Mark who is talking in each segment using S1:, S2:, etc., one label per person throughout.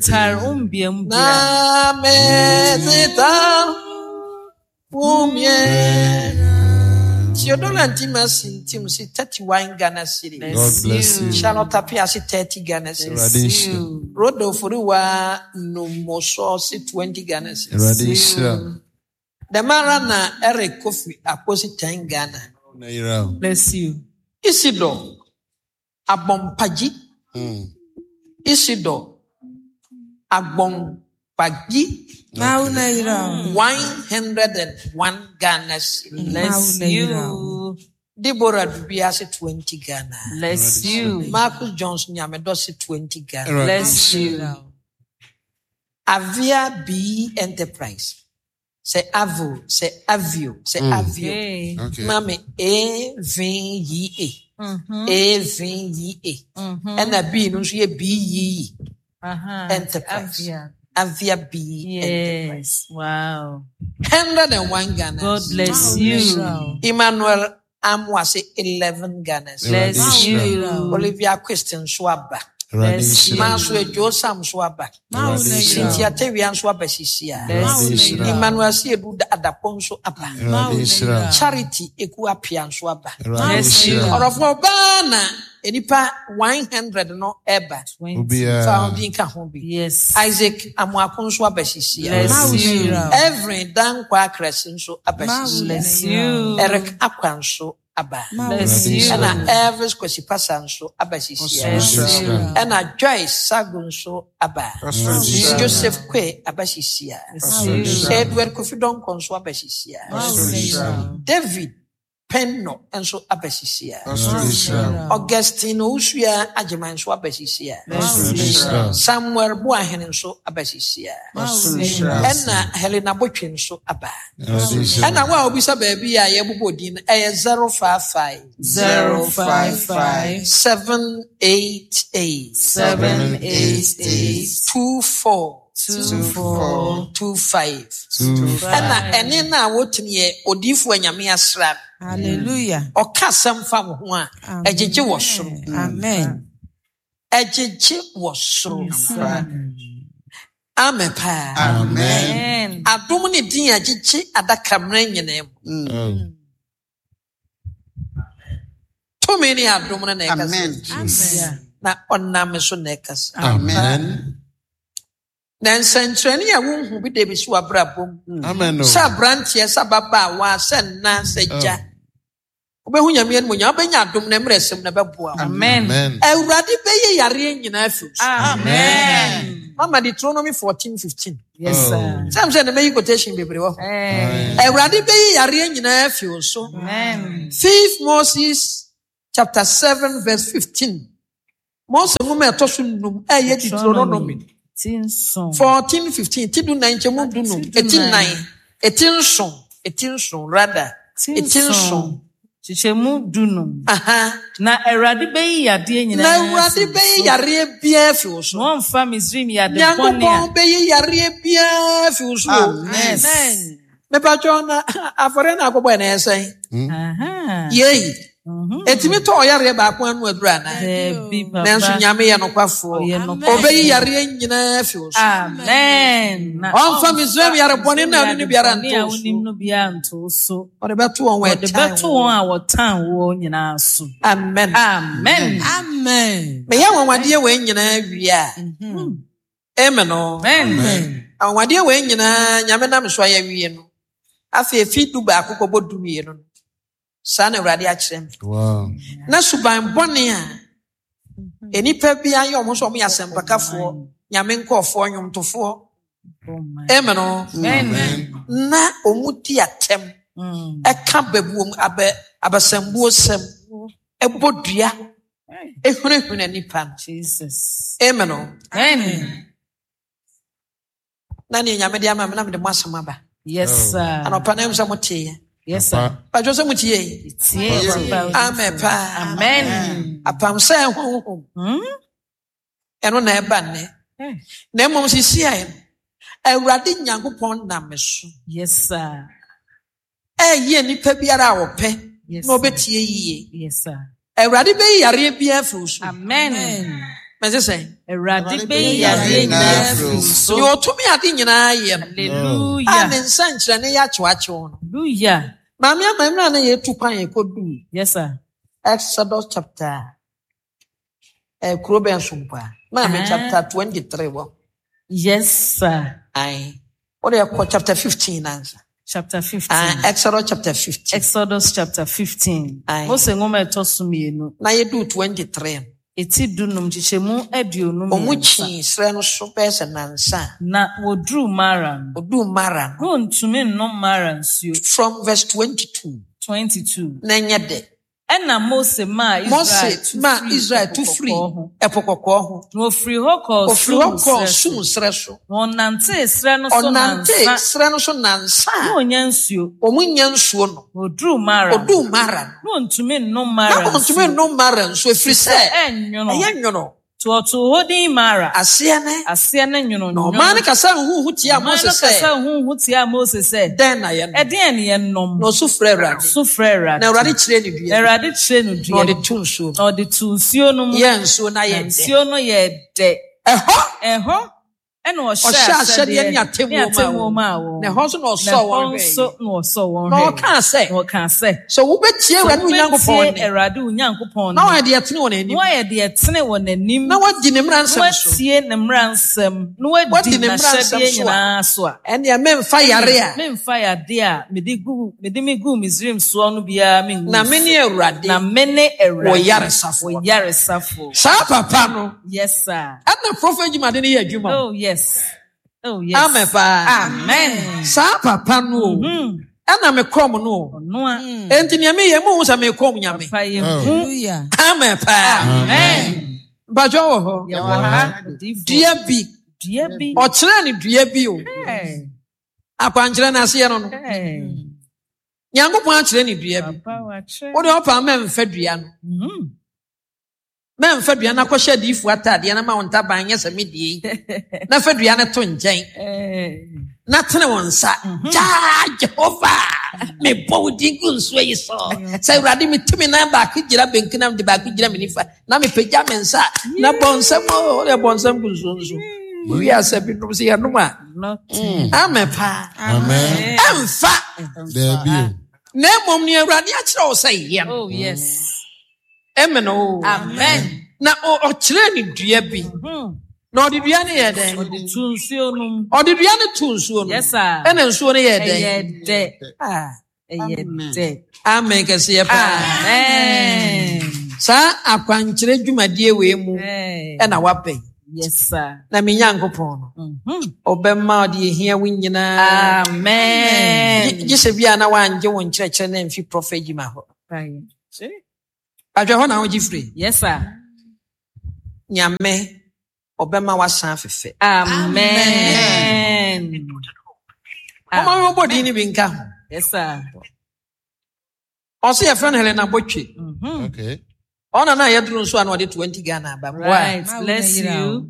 S1: Tar wo mbeamu dua.
S2: Na medze tar wo mmeamu. Theodora Ntima Sintim si 31 Ghana cedis.
S3: God bless you.
S2: Charlotte Appiah si 30 Ghana cedis.
S3: Awurade nhyira.
S2: Rodolfo Riwa Numoso si 20 Ghana cedis.
S3: Awurade nhyira.
S2: Dɛm ara na Eric Kofi Akpo si 10 Ghana.
S3: Na yira o.
S1: Bless you.
S2: Isidore Agbompagyi. Isidore Agbompagyi.
S4: Mawu na yira o.
S2: 101 Ghana cedis.
S1: Bless you.
S2: Deborah Dubiase 20 Ghana.
S1: Bless you.
S2: Marcus Johnson Nyamedosi 20 Ghana.
S1: Bless you.
S2: Avia B Enterprise. Sɛ Avo, sɛ Avio, sɛ Avio.
S1: Hey.
S3: Okay.
S2: Mami A V Y A. A V Y A. Ɛna B no nso yɛ B Y Y. Enterprise.
S1: Avia.
S2: Avia B Enterprise.
S1: Yes. Wow.
S2: 101 Ghana.
S1: God bless you.
S2: Emmanuel Amoase 11 Ghana.
S1: Bless you.
S2: Olivia Christian nso aba.
S3: Awurade nhyira.
S2: Manso Ejo Sam nso aba.
S3: Awurade nhyira.
S2: Cynthia Tewia nso aba sisi a.
S3: Awurade nhyira.
S2: Emmanuel Siedu Adapɔ nso aba.
S3: Awurade nhyira.
S2: Charity Eku Apia nso aba.
S3: Awurade nhyira.
S2: Ɔrɔfo ɔbaa na nipa 100 no ɛba.
S3: Obiara.
S2: Fa obi nka ho bi.
S1: Yes.
S2: Isaac Amoako nso aba sisi a.
S1: Bless you.
S2: Every Dankwa Akrasi nso aba sisi a.
S1: Bless you.
S2: Eric Akwa nso aba.
S1: Bless you.
S2: Ɛna Elvis Kwesi Pasa nso aba sisi a.
S1: Bless you.
S2: Ɛna Joyce Sago nso aba. Joseph Kwe aba sisi a.
S1: Bless you.
S2: Edward Kofi Donko nso aba sisi a. David Penno nso aba sisi a. Augustine Owusua Agyeman nso aba sisi a. Samuel Boahene nso aba sisi a. Ɛna Helena Botwe nso aba. Ɛna wo a obisa baabi a yɛbobɔ din no ɛyɛ 055
S1: 055
S2: 788
S1: 788
S2: 24
S1: 24
S2: 25. Ɛna ɛne no a wotumi yɛ odiyifoɔ Nyame asra no.
S4: Hallelujah.
S2: Ɔka asɛm fa wo ho a ɛgyegye wɔ soro.
S4: Amen.
S2: Ɛgyegye wɔ soro. Amen paa.
S3: Amen.
S1: Amen.
S2: Adom ne din a ɛgyegye adaka mmerɛ nyinaa mu. Tumi ne adom no na ɛkasa.
S1: Yeah.
S2: Na ɔnam so na ɛkasa.
S3: Amen.
S2: Na nsɛnkyerɛnne a wonhu bi da bi so wɔ abrabɔ mu.
S3: Amen.
S2: Sɛ aberanteɛ, sɛ ababaawa, sɛ nna, sɛ gya. Wobɛhu Nyame animuonyam, wobɛnya adom na mmerɛ sɛm na ɛbɛboa wo.
S1: Amen.
S3: Amen.
S2: Awurade bɛyɛ yareɛ nyinaa afi wo so.
S1: Amen.
S2: Mama Deuteronomy 14:15.
S1: Yes, sir.
S2: Sɛ sɛ na mɛyi quotation bebree wɔ hɔ.
S1: Amen.
S2: Awurade bɛyi yareɛ nyinaa afi wo so.
S1: Amen.
S2: 5 Moses chapter 7 verse 15. Mose nwoma a ɛtɔ so num ɛyɛ Deuteronomy
S1: Ti nson.
S2: 14 15 ti du nan nkyɛmu du num eti nan eti nson eti nson rather
S1: Ti
S2: eti nson.
S1: nson. Kyekyɛmu du num.
S2: Aha.
S1: Na Awurade bɛyi yadeɛ
S2: Na
S1: nyinaa
S2: Awurade
S1: afi wo
S2: bɛyi
S1: so.
S2: yareɛ biara afi wo so.
S1: Na ɔmfa Misraim yade bɔne a.
S2: Nyankopɔn bɛyi yareɛ biara afi wo so.
S1: Yes.
S2: Mepatwɔ na afɔre na akɔbɔ ɛna ɛsɛn.
S1: Aha.
S2: Yei. Etimi tɔ ɔyareɛ baako ano aduru anaa?
S1: Dabi papa.
S2: Nanso Nyame yɛ nokwafoɔ.
S1: Ɔyɛ nokwafoɔ.
S2: Ɔbɛyi yareɛ nyinaa afi wo so.
S1: Amen. Na
S2: Ɔmfa Misraim yare bɔne na ɔne no biara
S1: yare bɔne
S2: nto
S1: a
S2: wo so.
S1: wonim no biara nto wo so.
S2: Ɔde bɛto wɔn wɔ
S1: Ɔde
S2: ɛtan
S1: bɛto wɔn a wɔtan woɔ nyinaa so.
S2: Amen.
S1: Amen.
S4: Amen.
S2: Meyɛ anwanwadeɛ wei nyinaa wie a. Amen o.
S1: Amen.
S2: Anwanwadeɛ wei nyinaa Nyame nam so ayɛ wie no. Afei efi du baako kɔbɔ du mmienu no. Saa na Awurade akyerɛ me.
S3: Wow.
S2: Na suban bɔne a nnipa bi ayɛ ɔmo sɛ ɔmo yɛ asɛmpakafoɔ, Nyame nkɔɔfoɔ, nnwomtofoɔ. Amen o.
S1: Amen.
S2: Na ɔmo di atɛm. Ɛka babuom abɛ abasambuo sɛm. Ɛbɔ dua. Ehunahuna nipa no.
S1: Jesus.
S2: Amen o.
S1: Amen.
S2: Na nea Nyame de ama me na mede mo asɛm aba.
S1: Yes, sir.
S2: Anɔpa na ɛmu sɛ moteeɛ.
S1: Yes, sir.
S2: Badwo sɛ motie yi.
S1: Tie papa.
S2: Amen paa.
S1: Amen.
S2: Apam sɛ honhom. Ɛno na ɛba nnɛ. Na mmom sisi a Awurade Nyankopɔn nam me so.
S1: Yes, sir.
S2: Ɛyɛ nipa biara a ɔpɛ
S1: Yes,
S2: na ɔbɛtie yie.
S1: Yes, sir.
S2: Awurade bɛyi yareɛ biara afi wo so.
S1: Amen.
S2: Mɛse sɛn?
S1: Awurade bɛyi yadeɛ nyinaa afiri wo so.
S2: Deɛ ɔtumi ade nyinaa yɛ no.
S1: Hallelujah.
S2: A ne nsɛnkyerɛnne yɛ akyewakyew no.
S1: Hallelujah.
S2: Maame ama mmerɛ a na yɛtu kwan yɛkɔduu.
S1: Yes sir.
S2: Exodus chapter eh, kuro bɛn so mpo a? Maame
S1: Ah.
S2: chapter 23 wɔ.
S1: Yes sir.
S2: Ae. Wode kɔ chapter 15 ansa.
S1: Chapter 15.
S2: Ah, Exodus chapter 15.
S1: Exodus chapter 15.
S2: Aye.
S1: Mose nwoma a ɛtɔ so mmienu.
S2: Na yɛduu 23 no.
S1: Eti dunum nkyekyɛmu aduonu
S2: Wɔn
S1: mmiɛnsa.
S2: kyii serɛ no so bɛyɛ sɛ nnansa a.
S1: Na wɔduruu Mara no.
S2: Wɔduu Mara no.
S1: Na wɔntumi nnom Mara nsuo.
S2: From verse 22.
S1: 22.
S2: Na ɛnyɛ dɛ.
S1: Ɛnna Mose maa Israel
S2: Mose
S1: tu
S2: maa
S1: firii
S2: Israel
S1: Ɛpo
S2: tu firii
S1: Kɔkɔɔ ho.
S2: Ɛpo Kɔkɔɔ ho.
S1: Na wɔfirii hɔ kɔɔ
S2: Wɔfirii hɔ
S1: Sun
S2: kɔɔ
S1: serɛ
S2: Sun
S1: so.
S2: serɛ so.
S1: Na wɔnantee serɛ no so
S2: Ɔnantee
S1: nnansa.
S2: serɛ no so nnansa
S1: Na
S2: a
S1: wɔnnya nsuo.
S2: wɔnnya nsuo no.
S1: Na wɔduruu Mara no.
S2: Wɔduu Mara no.
S1: Na wɔntumi nnom
S2: Na
S1: Mara
S2: wɔntumi
S1: nsuo.
S2: nnom Mara nsuo, ɛfiri sɛ
S1: Ɛyɛ nwono.
S2: ɛyɛ nwono.
S1: Nti wɔtoo hɔ din Mara.
S2: Aseɛ ne?
S1: Aseɛ ne nwononwono.
S2: Na ɔman no kasaa huhuuhu tiaa
S1: Ɔman
S2: Mose
S1: no
S2: sɛ.
S1: kasaa huhuuhu tiaa Mose sɛ.
S2: Dɛn na yɛnnom?
S1: Ɛdeɛn ne yɛnnom?
S2: Na ɔsu frɛɛ Awurade.
S1: Ɔsu frɛɛ Awurade.
S2: Na Awurade kyerɛɛ no dua bi.
S1: Na Awurade kyerɛɛ no dua bi.
S2: Na ɔde too nsuo mu.
S1: Na ɔde too nsuo no mu.
S2: Yɛɛ nsuo no ayɛ dɛ.
S1: Na nsuo no yɛɛ dɛ.
S2: Ɛhɔ.
S1: Ɛhɔ. Ɛna ɔhyɛɛ ahyɛdeɛ ne atemmuo maa wɔn.
S2: Na ɛhɔ nso na ɔsɔɔ wɔn hwɛeɛ.
S1: Na ɛhɔ nso na ɔsɔɔ wɔn hwɛeɛ.
S2: Na ɔkaa sɛ.
S1: Na ɔkaa sɛ.
S2: Sɛ wobɛtie Awurade wo Nyankopɔn nne.
S1: Sɛ wobɛtie Awurade wo Nyankopɔn nne.
S2: Na woayɛ deɛ ɛtene wɔ n'anim.
S1: Na woayɛ deɛ ɛtene wɔ n'anim.
S2: Na woadi ne mmara nsɛm so.
S1: Na woatie ne mmara nsɛm. Na woadi n'ahyɛdeɛ nyinaa so a.
S2: Ɛnneɛ memfa yareɛ a.
S1: Memfa yadeɛ a mede gu mede meguu Misraim soɔ no biara mengu wo so.
S2: Na mene Awurade.
S1: Na mene Awurade.
S2: Wo yaresafoɔ.
S1: Wo yaresafoɔ.
S2: Saa papa no.
S1: Yes sir.
S2: Ɛna prophet dwumade no yɛ adwuma.
S1: Oh yes. Oh yes.
S2: Amen paa.
S1: Amen.
S2: Saa papa no o.
S1: Mm-hmm.
S2: Ɛna me kɔm no o.
S1: Ɔnoa.
S2: Enti nea meyɛ mo hu sɛ me kɔm nyame.
S1: Papa yɛ hu.
S2: Amen paa.
S1: Amen.
S2: Mpatwa wɔ hɔ.
S1: Yɛ wɔ ha.
S2: Dua bi.
S1: Dua bi.
S2: Ɔkyerɛ ne dua bi o. Akwankyerɛ no aseɛ no no. Nyankopɔn akyerɛ ne dua bi. Wode ɔpa mɛmfa dua no.
S1: Mm-hmm.
S2: Mɛmfa dua no akɔhyɛ adiyifoɔ ataadeɛ na ma wo ntaban nyɛ sɛ me deɛ yi, na fa dua no to nkyɛn na tene wo nsa.
S1: Mhm.
S2: Gyaa Jehova, mebɔ wo din gu nsuo yi so. Sɛ Awurade metu me nan baako gyina benkum na mede baako gyina me nifa na mepagya me nsa na bɔ nsɛm o, wode bɔ nsɛm gu nsuo no so. Wowie asɛ binom sɛ yɛnom a. Amen paa.
S3: Amen.
S2: Ɛmfa.
S3: Daabi o.
S2: Na mmom nea Awurade akyerɛ wo sɛ yɛ no.
S1: Oh yes.
S2: Amen o.
S1: Amen.
S2: Na ɔkyerɛɛ ne dua bi.
S1: Mm-hmm.
S2: Na ɔde dua no yɛ dɛn?
S1: Ɔde tu nsuo no mu.
S2: Ɔde dua no tu nsuo no.
S1: Yes sir.
S2: Ɛna nsuo no yɛ dɛn?
S1: Ɛyɛ dɛ.
S2: Ah.
S1: Ɛyɛ dɛ.
S2: Amen kɛseɛ paa.
S1: Amen.
S2: Saa akwankyerɛ dwumadie wei mu ɛna wabɛn.
S1: Yes sir.
S2: Na me Nyankopɔn no.
S1: Mm-hmm.
S2: Ɔbɛma ɔde ehia wo nyinaa.
S1: Amen.
S2: Gye sɛ bi a na wangye wo nkyerɛkyerɛ na mfi prɔfɛt gyima hɔ. Adwɛ hɔ na wogye firi.
S1: Yes sir.
S2: Nyame ɔbɛma wasan afefɛ.
S1: Amen.
S2: Mama mi bɔ din ni bi nka ho.
S1: Yes sir.
S2: Ɔsɛ yɛfrɛ no Helena Botwe.
S1: Mm-hmm.
S3: Okay.
S2: Ɔna na yɛduru nso a na ɔde 20 Ghana aba.
S1: Right. Bless you.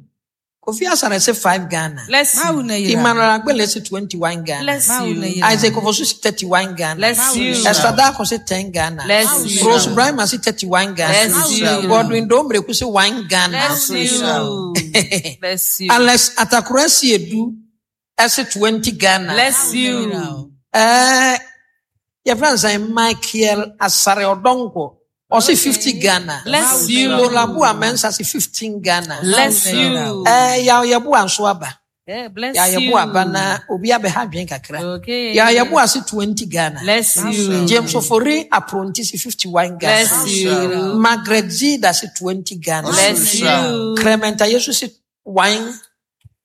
S2: Kofi Asare se 5 Ghana.
S1: Bless you.
S2: Emmanuel Agbele se 21 Ghana.
S1: Bless you.
S2: Isaac Ofosu se 31 Ghana.
S1: Bless you.
S2: Esther Darko se 10 Ghana.
S1: Bless you.
S2: Rose Brahma se 31 Ghana.
S1: Bless you.
S2: Godwin Domreku se 1 Ghana.
S1: Bless you. Bless you.
S2: Alex Atakura Siedu se 20 Ghana.
S1: Bless you.
S2: Eh, yɛfrɛ no sɛn Michael Asare Ɔdɔnkɔ ɔse 50 Ghana.
S1: Bless you.
S2: Lolaboa Mensah se 15 Ghana.
S1: Bless you.
S2: Eh, yaw yɛboa nso aba.
S1: Yeah, bless
S2: Yaw
S1: you.
S2: yɛboa aba na obi abɛha adwene kakra.
S1: Okay.
S2: Yaw yɛboa se 20 Ghana.
S1: Bless you.
S2: James Ofori Apronti se 51 Ghana.
S1: Bless you.
S2: Margaret Zida se 20 Ghana.
S1: Bless you.
S2: Clement Ayesu se 1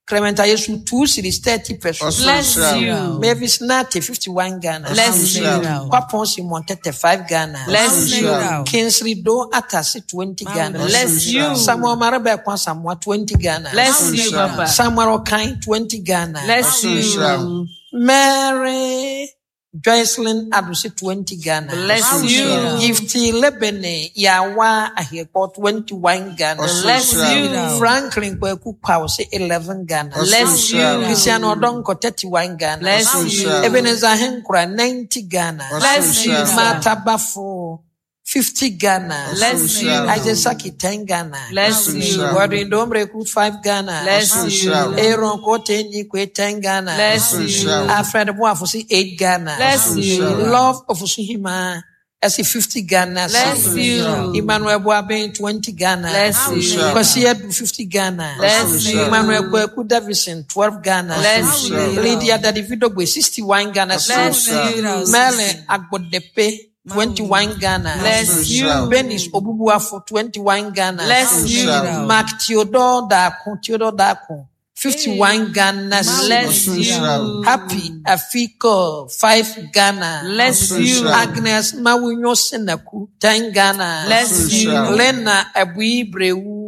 S2: Clement Ayesu 2 series 30 pesos.
S1: Bless you.
S2: Mavis Nate 51 Ghana.
S1: Bless you.
S2: Kwapon Simon 35 Ghana.
S1: Bless you.
S2: Kingsley Do Atasi 20 Ghana.
S1: Bless you.
S2: Samuel Maraba Kwasamwa 20 Ghana.
S1: Bless you, Papa.
S2: Samuel Okan 20 Ghana.
S1: Bless you.
S2: Mary Joycelyn Adusi 20 Ghana.
S1: Bless you.
S2: Gifty Lebene Yawa Ahieko 21 Ghana.
S1: Bless you.
S2: Franklin Kweku Kwause 11 Ghana.
S1: Bless you.
S2: Christian Odonko 31 Ghana.
S1: Bless you.
S2: Ebenezer Henkura 90 Ghana.
S1: Bless you.
S2: Martha Bafo 50 Ghana.
S1: Bless you.
S2: Isaac Saki 10 Ghana.
S1: Bless you.
S2: Godwin Domreku 5 Ghana.
S1: Bless you.
S2: Aaron Kote Nikwe 10 Ghana.
S1: Bless you.
S2: Alfred Boafosi 8 Ghana.
S1: Bless you.
S2: Love Ofosuhima ɛsi 50 Ghana.
S1: Bless you.
S2: Emmanuel Boabeng 20 Ghana.
S1: Bless you.
S2: Kwasi Edu 50 Ghana.
S1: Bless you.
S2: Emmanuel Kweku Davison 12 Ghana.
S1: Bless you.
S2: Lydia Dadividogwe 61 Ghana.
S1: Bless you.
S2: Merlin Agbodepe 21 Ghana.
S1: Bless you.
S2: Benis Obubuafo 21 Ghana.
S1: Bless you.
S2: Mark Theodore Dako Theodore Dako 51 Ghana.
S1: Bless you.
S2: Happy Afiko 5 Ghana.
S1: Bless you.
S2: Agnes Mawunyo Senaku 10 Ghana.
S1: Bless you.
S2: Lena Abui Brewu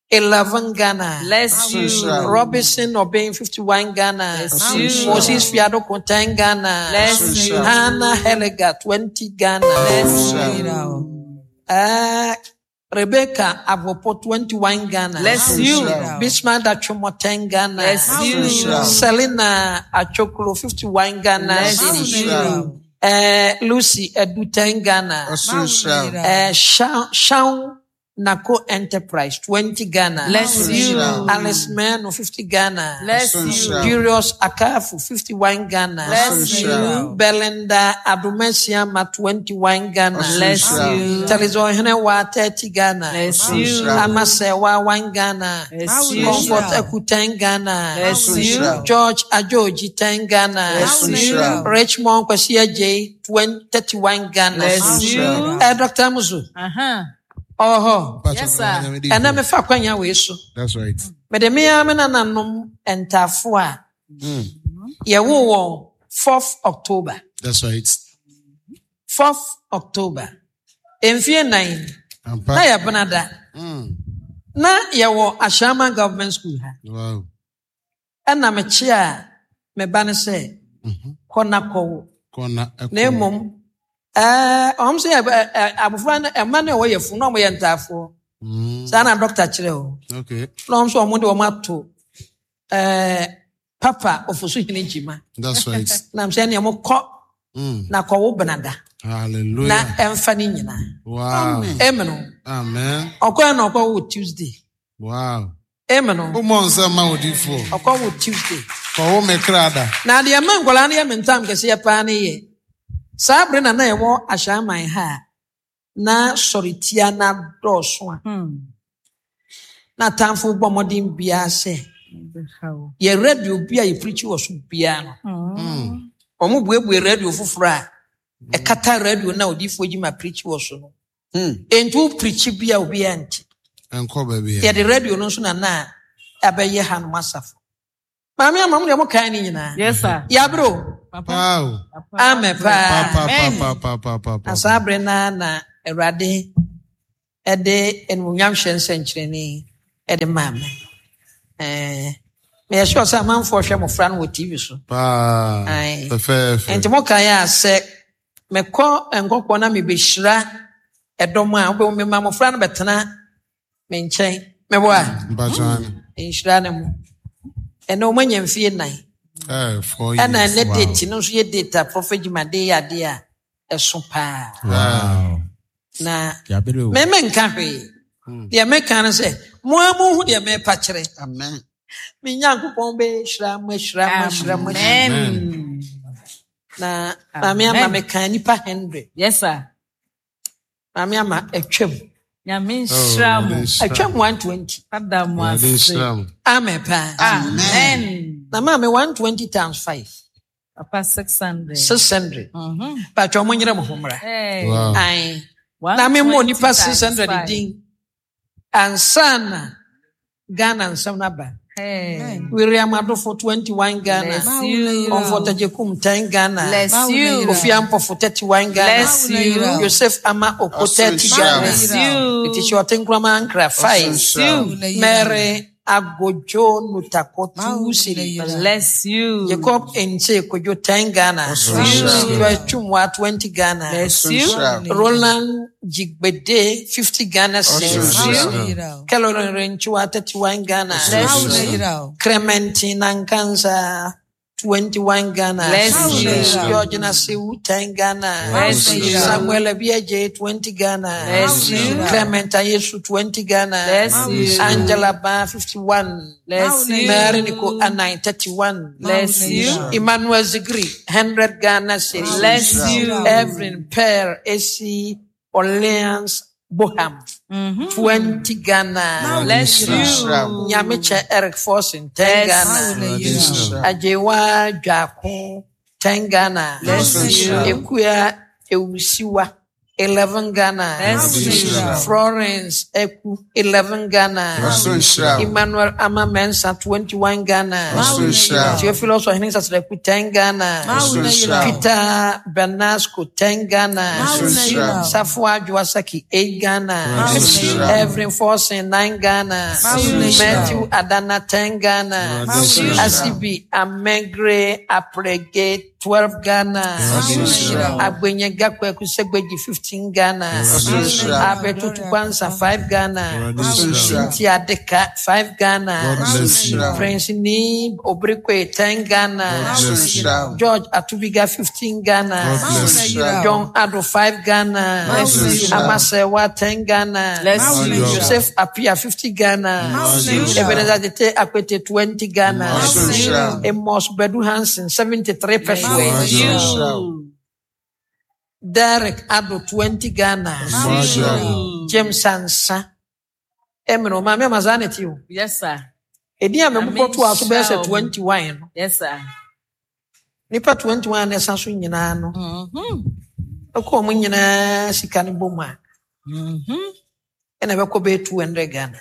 S2: 11 Ghana.
S1: Bless you.
S2: Robinson Obeng 51 Ghana.
S1: Bless you.
S2: Moses Fiadoko 10 Ghana.
S1: Bless you.
S2: Hannah Heliga 20 Ghana.
S1: Bless you.
S2: Rebecca Avopo 21 Ghana.
S1: Bless you.
S2: Bismarck Dachomo 10 Ghana.
S1: Bless you.
S2: Selina Achoklo 51 Ghana.
S1: Bless you.
S2: Lucy Edu 10 Ghana. Shaun Nako Enterprise 20 Ghana.
S1: Bless you.
S2: Alice Mano 50 Ghana.
S1: Bless you.
S2: Curious Akafu 51 Ghana.
S1: Bless you.
S2: Belinda Adumesiama 21 Ghana.
S1: Bless you.
S2: Telizo Henewa 30 Ghana.
S1: Bless you.
S2: Amasewa 1 Ghana.
S1: Bless you.
S2: Comfort Eku 10 Ghana.
S1: Bless you.
S2: George Ajoji 10 Ghana.
S1: Bless you.
S2: Richmond Kwesi J 31 Ghana.
S1: Bless you.
S2: Dr. Musu.
S1: Uh-huh.
S2: Oh,
S1: Yes, sir.
S2: And I'm a fa kwanya we so.
S3: That's right.
S2: Mede me a me nananom ntafo a yɛwo wɔn 4th October.
S3: That's right.
S2: 4th October. Mfie 9
S3: Ampa.
S2: na yɛ benada. Na yɛwɔ Ashaiman Government School ha.
S3: Wow.
S2: Ɛna mekye a me ba ne sɛ kɔ na kɔwo.
S3: Kɔ na ɛkɔ.
S2: Na mmom ɔm sɛ abofra no ɛma no a ɛwɔ yɛ funu na ɔmo yɛ ntaafoɔ. Saa na dɔkta kyerɛ o.
S3: Okay.
S2: Na ɔm sɛ ɔmo de ɔmo ato Papa Ofosuhene Gyima.
S3: That's right.
S2: Na sɛ nea mo kɔ na kɔwo benada.
S3: Hallelujah.
S2: Na ɛmfa ne nyinaa.
S3: Wow.
S2: Amen.
S3: Amen.
S2: Ɔkɔɛ na ɔkɔwo Tuesday.
S3: Wow.
S2: Amen.
S3: Wo nsɛm ma odiifoɔ.
S2: Ɔkɔwo Tuesday.
S3: Kɔwo me kra da.
S2: Na deɛ mma nkwadaa no yɛ me ntam kɛseɛ paa ne yɛ. Saa bere na na yɛwɔ Ashaiman ha a, na sɔretia na dɔɔso a. Na atamfo bɔ mmɔden biara sɛ yɛ radio bi a yɛpirikyi wɔ so biara no. Ɔmo buebue radio foforɔ a ɛkata radio na odiifoɔ Gyima pirikyi wɔ so no. Enti wo pirikyi bi a obiara nti.
S3: Ɛnkɔ baabi a.
S2: Yɛde radio no nso na na abɛyɛ hanom asafo. Maame ama mo deɛ mo kan ne nyinaa.
S1: Yes, sir.
S2: Yɛabrɛ o.
S1: Papa.
S3: Wow.
S2: Amen paa.
S3: Pa, pa, pa, pa, pa, pa,
S2: Na saa bere na na Awurade ɛde animuonyam hyɛ nsɛnkyerɛnne ɛde maa me. Meyɛ sure sɛ amanfoɔ hwɛ mmɔfra no wɔ TV so.
S3: Paa.
S2: Aye.
S3: Fɛfɛɛfɛ.
S2: Nti mo kan a sɛ mekɔ nkɔkɔɔ na mebɛhyira ɛdɔm a wobɛhu mema mmɔfra no bɛtena me nkyɛn. Mɛbɔ a?
S3: Mpakyɛ ane.
S2: Nhyira ne mo. Ɛnɛ wɔn anya mfie 4.
S3: 4
S2: Ɛna
S3: years.
S2: ɛnɛ
S3: Wow.
S2: date no nso yɛ date a Prophet Gyima de yɛ adeɛ a ɛso paa.
S3: Wow.
S2: Na
S5: Yabere o.
S2: mɛmɛ nka hwee. Deɛ mɛka no sɛ, mo a mo hu deɛ mɛpa kyerɛ.
S6: Amen.
S2: Me Nyankopɔn bɛhyira mo, ahyira mo, ahyira mo, ahyira mo.
S1: Amen.
S2: Na maame ama meka nipa 100.
S1: Yes, sir.
S2: Maame ama atwam.
S1: Nyame nhyira mo.
S3: Oh, nhyira.
S2: Atwam 120.
S1: Ada mo
S3: Awurade
S1: ase.
S3: nhyira mo.
S2: Amen paa.
S1: Amen.
S2: Na maame 120 times 5.
S1: Papa 600.
S2: 600. Patwa mo nyere mo ho mmra.
S1: Hey.
S3: Wow.
S2: Aye. Na me mo nipa 600
S1: times
S2: din. Ansa na Ghana nsɛm no aba.
S1: Hey.
S2: William Adofo 21 Ghana.
S1: Bless you.
S2: Comfort Ajekum 10 Ghana.
S1: Bless you.
S2: Kofi Ampofo 31 Ghana.
S1: Bless you.
S2: Joseph Ama Oko 30 Ghana.
S1: Bless you.
S2: It is your Tinkrama Ankra 5.
S1: Bless you.
S2: Mary Agojo Nutako 2 City.
S1: Bless you.
S2: Jacob Nse Kojo 10 Ghana.
S1: Bless you.
S2: Joyce Chumwa 20 Ghana.
S1: Bless you.
S2: Roland Jigbede 50 Ghana.
S1: Bless you.
S2: Caroline Renchua 31 Ghana.
S1: Bless you.
S2: Clementine Nankansa 21 Ghana.
S1: Bless you.
S2: George Nasiwu, 10 Ghana.
S1: Bless you.
S2: Samuel Abieje, 20 Ghana.
S1: Bless you.
S2: Clement Ayesu, 20 Ghana.
S1: Bless you.
S2: Angela Ba, 51.
S1: Bless you.
S2: Mary Nico Anai, 31.
S1: Bless you.
S2: Emmanuel Zigri, 100 Ghana cedis.
S1: Bless you.
S2: Evelyn Pear, AC Orleans Boham, 20 Ghana.
S1: Bless you.
S2: Nyamiche Eric Forson, 10
S1: Bless
S2: Ghana.
S1: you.
S2: Ajewa Dwako, 10 Ghana.
S1: Bless you.
S2: Ekuya Ewusiwa, 11 Ghana.
S1: Bless you.
S2: Florence Eku, 11 Ghana.
S3: Ɔsoro nhyira wo.
S2: Emmanuel Ama Mensah, 21 Ghana.
S3: Ɔsoro nhyira wo.
S2: Theophilus Ohene Sasreku, 10 Ghana.
S3: Ɔsoro nhyira wo.
S2: Peter Bernasco, 10 Ghana.
S3: Ɔsoro nhyira wo.
S2: Safwa Juasaki, 8 Ghana.
S3: Ɔsoro nhyira wo.
S2: Evelyn Forson, 9 Ghana. Matthew Adana, 10 Ghana.
S3: Ɔsoro nhyira wo.
S2: Asibi Amegre Aprege, 12 Ghana.
S3: Ɔsoro nhyira wo.
S2: Agbenye Gakweku Segbeji, 15 Ghana.
S3: Ɔsoro nhyira wo.
S2: Abetutu Kwanza, 5 Ghana.
S3: Ɔsoro nhyira wo.
S2: Cynthia Deka, 5 Ghana.
S3: God bless you.
S2: Prince Ni Obrikwe, 10 Ghana.
S3: God bless you.
S2: George Atubiga, 15 Ghana.
S3: God bless you.
S2: John Ado, 5 Ghana.
S1: Bless you.
S2: Amasewa, 10 Ghana.
S1: Bless you.
S2: Joseph Apia, 50 Ghana.
S3: Bless you.
S2: Ebenezer Tete Akwete, 20 Ghana.
S3: Ɔsoro nhyira wo.
S2: Amos Bedu Hansen, 73 pesos.
S1: Bless you.
S2: Derek Ado, 20 Ghana.
S3: Ɔsoro
S2: James Ansa. Emino, maame amazane ti o.
S1: Yes, sir.
S2: Edi a mebobɔ to a so bɛyɛ sɛ
S1: Amen.
S2: 21 no.
S1: Yes, sir.
S2: Nipa 21 na ɛsa so nyinaa no. Ɛkɔ ɔmo nyinaa sika no bɔ mu a, ɛna ɛbɛkɔ bɛyɛ 200 Ghana.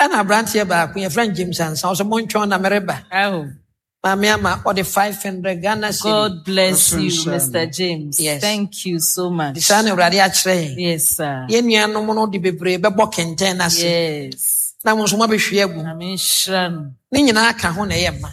S2: Ɛna aberanteɛ baako yɛfrɛ no James Ansa ɔsɛ montwɛn na mereba.
S1: Oh,
S2: Maame ama ɔde 500 Ghana cedi.
S1: God bless you,
S3: Awesome.
S1: Mr. James.
S2: Yes.
S1: Thank you so much.
S2: Nti saa na Awurade akyerɛ yɛn.
S1: Yes, sir.
S2: Yɛn nuanom no de bebree bɛbɔ kɛntɛn no ase.
S1: Yes.
S2: Na mo nso moabɛhwie agu. mu.
S1: Amen. Shran.
S2: Ne nyinaa ka ho na ɛyɛ ma.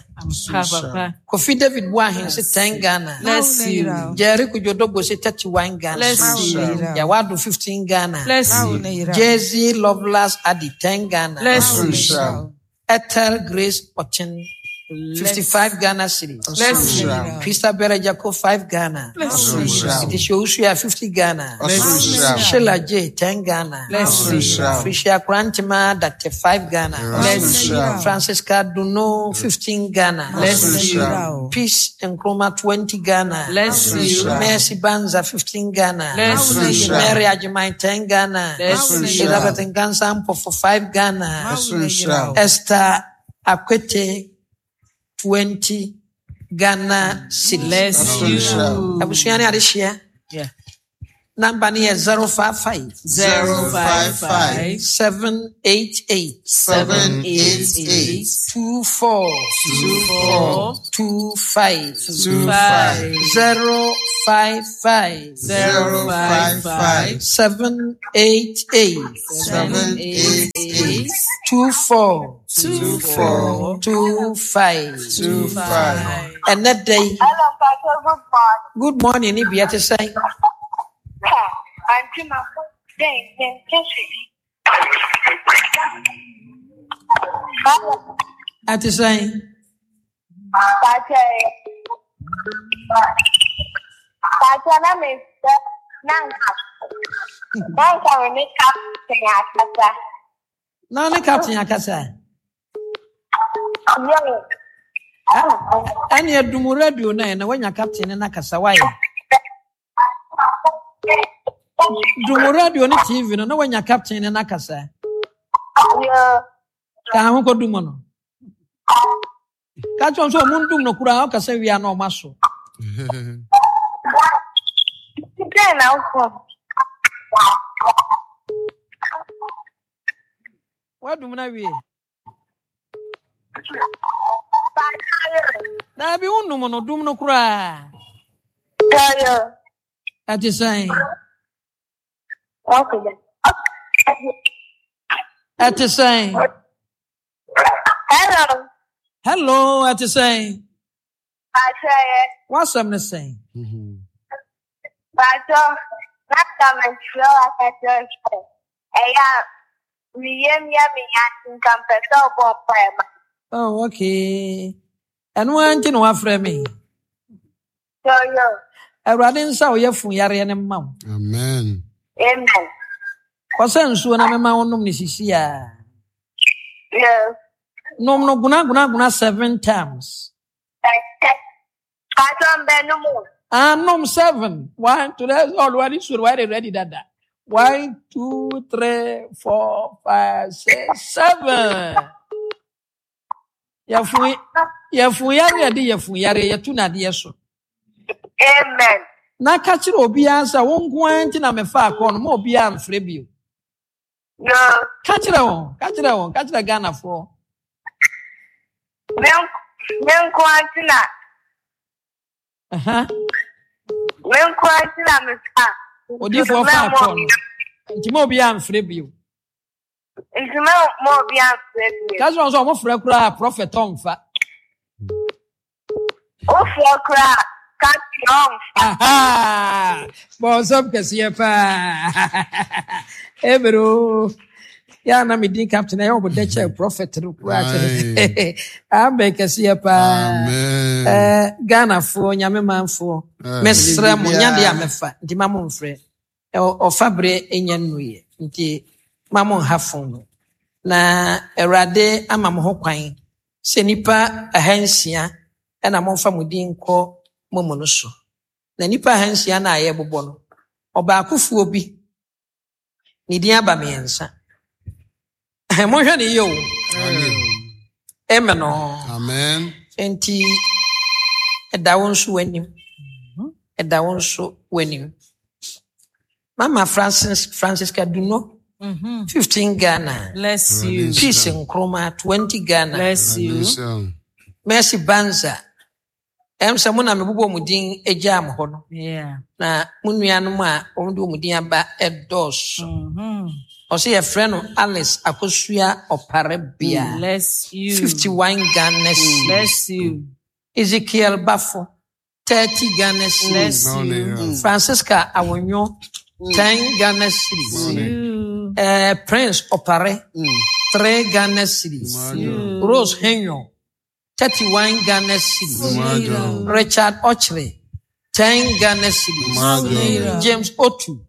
S1: Papa.
S2: Kofi David Boahen se 10 Ghana.
S1: Bless you.
S2: Jerry Kujodogbo se 31 Ghana.
S1: Bless you.
S2: Yawado 15 Ghana.
S1: Bless you.
S2: Jay-Z Loveless Adi 10 Ghana.
S1: Bless
S3: Ɔsoro
S1: you.
S3: nhyira wo.
S2: Ethel Grace Ochin 55 Ghana cedis.
S1: Bless you.
S2: Christabel Jacob 5 Ghana.
S1: Bless
S3: Ɔsoro
S1: you.
S3: nhyira wo.
S2: Itisha Usua 50 Ghana.
S3: Ɔsoro nhyira wo.
S2: Sheila J 10 Ghana.
S1: Bless
S3: Ɔsoro
S1: you.
S3: nhyira wo.
S2: Frisia Krantima Dr. 5 Ghana.
S3: Ɔsoro nhyira wo.
S2: Francisca Duno 15 Ghana.
S1: Bless you.
S2: Peace Nkrumah 20 Ghana.
S1: Bless you.
S2: Mercy Banza 15 Ghana.
S1: Bless you.
S2: Mary Ajimai 10 Ghana.
S1: Bless you.
S2: Elizabeth Ngansa for 5 Ghana.
S3: Ɔsoro nhyira wo.
S2: Esther Akwete 20 Ghana cedis.
S1: Bless
S3: Ɔsoro nhyira wo.
S1: you.
S2: Abusua ne adehyia.
S1: Yeah.
S2: Number no yɛ 055
S1: 055
S2: 788
S3: 788
S2: 24
S1: 4
S2: 25
S3: 25
S2: 055
S3: 055
S2: 788
S3: 788
S2: 24
S3: 24
S2: 25.
S3: 25.
S2: Ɛnɛ da yi,
S5: Hello, Pastor. Good morning.
S2: good morning ne bia te sɛn?
S5: Auntie, my phone. Then,
S2: Ate sɛn?
S5: Pastor. Pastor, na me nanka. Nanka me ne captain akasa.
S2: Na ne captain akasa.
S5: Yo.
S2: Ɛne adum radio no ɛ na woanya captain ne nakasa wayɛ. Dum radio ne TV no na woanya captain ne nakasa.
S5: Yo.
S2: Ka ho kɔdum no. Ka kyerɛ wɔn sɛ ɔmo ndum no koraa ɔkasa wie a na ɔmo aso.
S5: Then I'll come.
S2: Woadum no awie.
S5: Pastor.
S2: Daabi wonum no dum no koraa.
S5: Yo.
S2: Ɛte sɛn?
S5: Okay.
S2: Ɛte sɛn?
S5: Hello.
S2: Hello, ɛte sɛn?
S5: Pastor.
S2: W'asɛm ne sɛn?
S5: Pastor. Nanka me kyerɛ wo akasa sɛ ɛyɛ a meyam yɛ me ya nka mpɛ sɛ ɔbɔ mpaeɛ ma.
S2: Oh, okay. Ɛno ara nti na wafrɛ me. Awurade nsa a ɔyɛ fun yareɛ no mma wo.
S3: Amen.
S5: Amen.
S2: Kɔsɛ nsuo na mema wo nom ne sisi a.
S5: Yes.
S2: Nom no guna guna guna seven times. Ah, nom seven. One, two, that's all. One is already ready, dada. One, two, three, four, five, six, seven. Yɛfun yɛfun yare yɛde yɛfun yare yɛtu n'adeɛ so.
S5: Amen.
S2: Na ka kyerɛ obiara sɛ wo nko ara nti na mefa akɔ no ma obiara mfrɛ bio.
S5: No.
S2: Ka kyerɛ wɔn, ka kyerɛ wɔn, ka kyerɛ Ghanafoɔ.
S5: Me nko ara nti na. Me nko ara nti na mefa.
S2: Odiifoɔ fa akɔ no. Nti ma obiara mfrɛ bio.
S5: Nti ma ma obiara mfrɛ bio.
S2: Ka kyerɛ wɔn sɛ wɔn frɛ koraa prɔfɛt ɔmfa.
S5: Wofrɛ koraa ka kyerɛ ɔmfa.
S2: Bɔnsɛm kɛseɛ paa. Ebere o. Yɛ na me din captain ɛyɛ ɔbɔ dɛ kyɛ prɔfɛt no koraa kyɛ. Amen kɛseɛ paa. Ɛɛ Ghanafoɔ nyame manfoɔ. Mesrɛ mo nya deɛ a mɛfa nti ma mo mfrɛ. Ɔfa berɛ nya nnuiɛ nti ma mo nha fon no. Na Awurade ama mo ho kwan sɛ nnipa ahansia na momfa mo din nkɔ mo mu no so. Na nnipa ahansia no a yɛrebobɔ no, ɔbaakofoɔ bi, ne din aba mmiɛnsa. Monhwɛ ne yie o. Amen o.
S3: Amen.
S2: Nti ɛda wo nso w'anim. Ɛda wo nso w'anim. Mama Francis Francisca Duno, 15 Ghana.
S1: Bless you.
S2: Peace Nkrumah, 20 Ghana.
S1: Bless you.
S2: Mercy Banza. Ɛm sɛ mo na mebobɔ mo din gyaa mo hɔ no.
S1: Yeah.
S2: Na mo nuanom a wɔn de wɔn din aba ɛdɔɔso. Ɔsɛ yɛfrɛ no Alice Akosua Ɔparebea.
S1: Bless you.
S2: 51 Ghana cedis.
S1: Bless you.
S2: Ezekiel Bafo, 30 Ghana cedis.
S1: Bless you.
S2: Francisca Awonyo, 10 Ghana cedis.
S1: You.
S2: Prince Opare, 3 Ghana cedis.
S1: You.
S2: Rose Henyo, 31 Ghana cedis. Richard Ochre, 10 Ghana cedis. James Otu,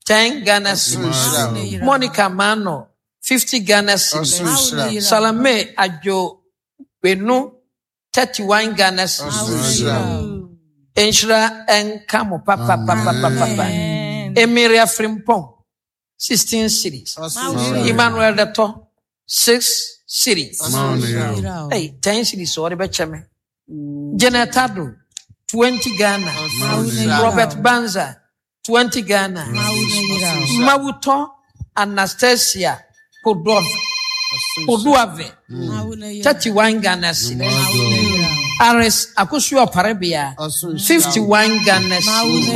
S2: 10 Ghana cedis. Monica Mano, 50 Ghana cedis. Salome Ajo Benu, 31 Ghana cedis. Nhyira nka mo papapapapapa. Emiria Frimpong, 16 cedis. Emmanuel Deto, 6 cedis. Hey, 10 cedis ɔde bɛkyɛ me. Janet Ado, 20 Ghana. Robert Banza, 20 Ghana. Mawuto Anastasia Koduave, 31 Ghana cedis. Aris Akosua Parebea, 51 Ghana cedis.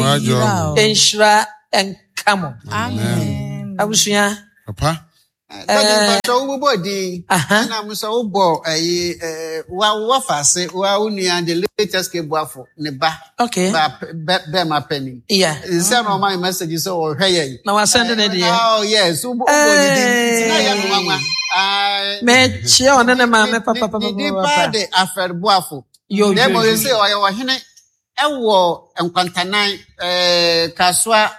S2: Nhyira nka mo.
S1: Amen.
S2: Abusua.
S3: Papa.
S6: Sɛ wobobɔ din na mo sɛ wobɔ ɛyi wa wafa ase wa wo nua the latest ke buafo ne ba.
S2: Okay.
S6: Ba bɛrima panyin.
S2: Yeah.
S6: Nsɛ na ɔma mi message sɛ ɔhwɛ yɛn.
S2: Na wasɛn ne deɛ.
S6: Oh yes, wobɔ ne din nti na yɛ no nwanwa.
S2: Mɛkyia ɔne ne maame papapapa.
S6: Ne din paa de Alfred Boafo.
S2: Yo
S6: Na
S2: yo
S6: mmom
S2: yo.
S6: sɛ ɔyɛ ɔhene ɛwɔ Nkwantanan Kasoa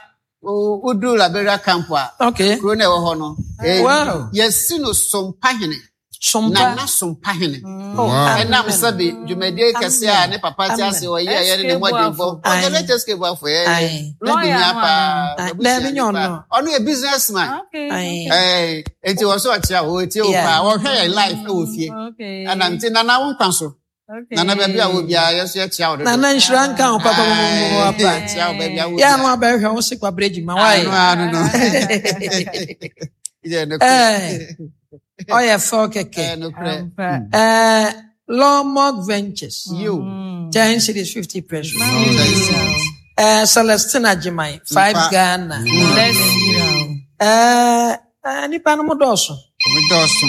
S6: wodu Liberia camp a.
S2: Okay.
S6: Kuro na ɛwɔ hɔ no.
S2: Wow.
S6: Yɛsi no Sompahene.
S2: Sompa.
S6: Nana Sompahene.
S2: Oh,
S6: Ɛnam sɛbi dwumadie kɛse a ne papa te ase ɔyɛ a yɛne ne mmɔdenbɔ. Ɔyɛ latest ke buafo yɛ.
S2: Aye.
S6: Lady nya paa.
S2: Aye.
S6: Abusua
S2: Dabi nyɛ
S6: nipa.
S2: ɔno.
S6: Ɔno yɛ business man.
S1: Okay.
S2: Aye.
S6: Nti wɔ so ɔkyea wɔ tie wo
S2: Yeah.
S6: paa. Wɔhwɛ yɛn live ɛwɔ fie.
S1: Okay.
S6: Ɛna nti nana wo nkwa so.
S1: Okay.
S6: Nana baabi a wɔ biara yɛ so yɛkyea wo dodo.
S2: Nana nhyira nka wo papapapapa.
S6: Yɛkyea wo baabi a wɔ
S2: Yɛ ano
S6: biara.
S2: abɛhwɛ wo se kwabrɛ gyima wae.
S6: Ano ano no. Yɛ nokorɛ.
S2: Eh, ɔyɛ fɛw kɛkɛ.
S6: Ɛyɛ nokorɛ.
S1: Ampa.
S2: Eh, Lawmog Ventures,
S6: Yo.
S2: 10 cedis 50 pesos.
S6: Bless
S2: Celestina Jimai, 5
S6: Mpa.
S2: Ghana.
S1: Bless you.
S2: Nipa no mo dɔɔso.
S6: Ɔmo dɔɔso.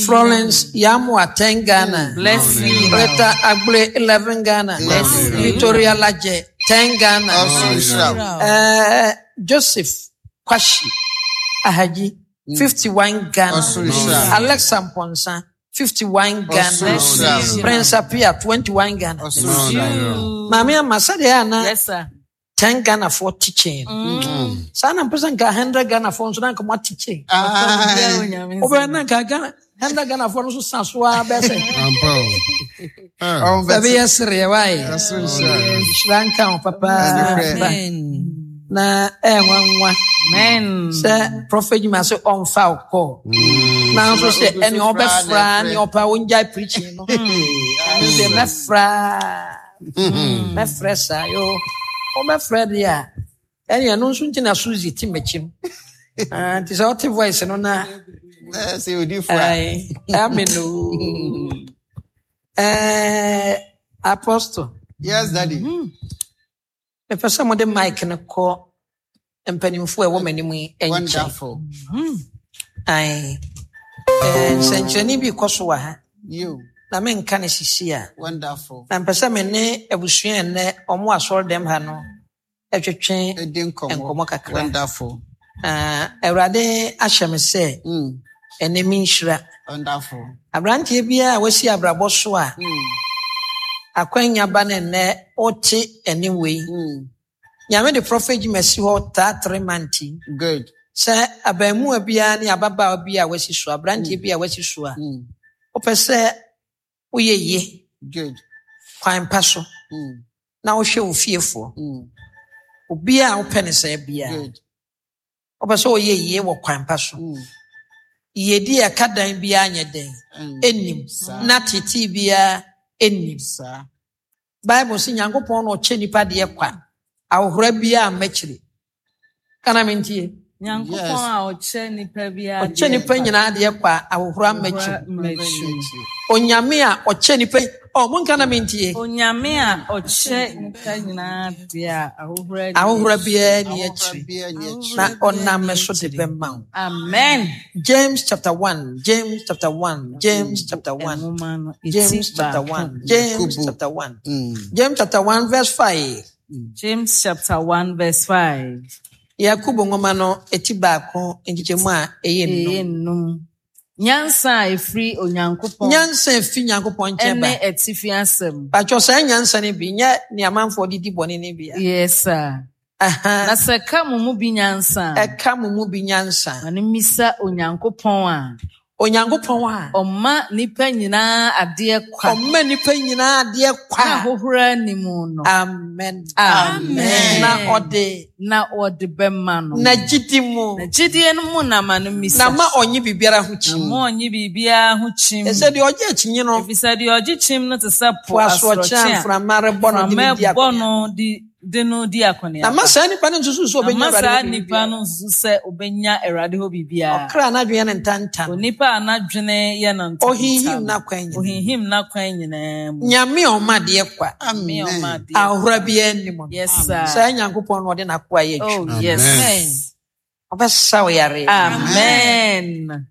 S2: Florence Yamua, 10 Ghana.
S1: Bless you.
S2: Rita Agble, 11 Ghana.
S1: Bless you.
S2: Victoria Laje, 10 Ghana.
S6: Ɔsoro nhyira wo.
S2: Joseph Kwashi Ahaji, 51 Ghana.
S6: Ɔsoro nhyira wo.
S2: Alexa Mponsa, 51 Ghana. Prince Apia 21 Ghana. Maame ama sɛdeɛ ɛyɛ ana
S1: Yes, sir.
S2: 10 Ghana foɔ teaching. Saa na mpɛ sɛ nka 100 Ghana foɔ nso na nka mo ateaching. Wobɛyɛ na nka Ghana 100 Ghana foɔ no nso sa so ara bɛyɛ sɛ.
S3: Ampa o. Ah.
S2: Baabi yɛ sereɛ wae. Nhyira nka wo papaapa. Na ɛyɛ nwanwa sɛ Prophet Juma sɛ ɔmfa wo kɔ. Nanso sɛ ɛne ɔbɛfra ne ɔpa wongyae preaching no. Ɛno deɛ mɛfra mɛfrɛ saa yo. Wobɛfrɛ deɛ a ɛne ɛno nso nti na Suzy te m'akyi no. Ah, nti sɛ ɔte voice no na
S6: Sɛ odifo a.
S2: Amen o. Eh, Apostle.
S6: Yes, Daddy.
S2: Mepɛ sɛ mode mic no kɔ mpanimfoɔ a ɛwɔ m'anim yi nkyɛn.
S6: Wonderful.
S2: Ae. Eh, nsɛnkyerɛnne bi kɔ so wɔ ha.
S6: You.
S2: Na menka no sisi a.
S6: Wonderful.
S2: Na mpɛ sɛ me ne abusua nnɛ ɔmo asɔre dɛm ha no ɛtwetwe nkɔmmɔ kakra.
S6: Wonderful.
S2: Ah, Awurade ahyɛ me sɛ ɛnɛ menhyira.
S6: Wonderful.
S2: Aberanteɛ biara a wasi abrabɔ so a akwanya ba no nnɛ wote ɛne wei. Nyame de Prophet Jim asi hɔ taa tere manti.
S6: Good.
S2: Sɛ abaamuwa biara ne ababaawa bi a wasi so, aberanteɛ bi a wasi so a, wopɛ sɛ woyɛ yie.
S6: Good.
S2: Kwan pa so. Na wohwɛ wo fiefoɔ. Obiara a wopɛ ne saa biara.
S6: Good.
S2: Wopɛ sɛ ɔyɛ yie wɔ kwan pa so. Yiedie a ɛka dan biara nyɛ dɛn? Ɛnnim. Na tetee biara ɛnnim. Bible sɛ Nyankopɔn na ɔkyɛ nipa deɛ kwa. Ahohora biara mmakyire. Kana mentie.
S1: Nyankopɔn a ɔkyɛ nipa biara
S2: Ɔkyɛ nipa nyinaa deɛ kwa ahohora mmakyire. Onyame a ɔkyɛ nipa ɔ monka na mentie.
S1: Onyame a ɔkyɛ nipa nyinaa deɛ a ahohora
S2: Ahohora biara ni akyire. Na ɔnam me so de bɛma wo.
S1: Amen.
S2: James chapter 1, James chapter 1, James chapter 1, James chapter 1, James chapter 1, James chapter 1 verse 5.
S1: James chapter 1 verse 5.
S2: Yakubu nwoma no eti baako nkyekyɛmu a ɛyɛ
S1: Ɛyɛ nnum. Nyansa a ɛfiri Onyankopɔn.
S2: Nyansa a ɛfiri Nyankopɔn nkyɛn ba.
S1: Ɛne atifi asɛm.
S2: Patwɔ saa nyansa no bi nyɛ nea amanfoɔ de di bɔne no bi a.
S1: Yes sir. Na sɛ ɛka mo mu bi nyansa a.
S2: Ɛka mo mu bi nyansa.
S1: Ma no mmisa Onyankopɔn a.
S2: Onyankopɔn a.
S1: Ɔma nnipa nyinaa adeɛ kwa.
S2: Ɔma nnipa nyinaa adeɛ kwa.
S1: Na ahohora nni mu no.
S2: Amen.
S1: Amen.
S2: Na ɔde.
S1: Na ɔde bɛma no.
S2: Na gyidi mu.
S1: Na gyidie no mu na ma no mmisa.
S2: Na ma ɔnye biribiara ho kyim.
S1: Na ma ɔnye biribiara ho kyim.
S2: Ɛsɛ deɛ ɔgye akyinye no.
S1: Efisɛ deɛ ɔgye kyim no te sɛ po
S2: Po asorɔkye a
S1: asorɔkye a
S2: mframa rebɔ no de no di
S1: mframa bɔ
S2: akɔneaba.
S1: no de de no di akɔneaba.
S2: Na ma saa nipa no nsusu sɛ
S1: Na
S2: ɔbɛnya
S1: ma
S2: Awurade
S1: saa
S2: hɔ
S1: nipa
S2: biribiara.
S1: no nsusu sɛ ɔbɛnya Awurade hɔ biribiara.
S2: Ɔkra a n'adwene yɛ no ntanta no.
S1: Onipa a n'adwene yɛ no ntanta
S2: Ɔhinhim
S1: no.
S2: n'akwan nyinaa.
S1: Ɔhinhim n'akwan nyinaa mu.
S2: Nyame a ɔma adeɛ kwa.
S1: Nyame a ɔma adeɛ
S2: Ahohora
S1: kwa.
S2: biara nni mu no.
S1: Yes, sir.
S2: Saa Nyankopɔn no ɔde n'akoa yɛ
S1: Oh,
S2: adwuma.
S1: yes.
S2: Ɔbɛsa wo yareɛ.
S1: Amen.